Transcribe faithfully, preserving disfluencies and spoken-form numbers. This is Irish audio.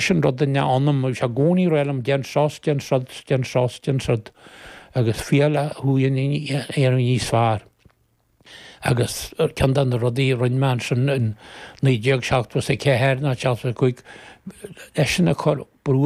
Sin rud in ionam sé i gcónaí ag rá liom déan seo déan seo déan seo déan seo agus fial thú a dhéanamh níos fearr. Agus ceann de na rudaí a rinne mé ansin in naoi déag seachtó a ceathair nó seachtó a cúig eisean a chur brú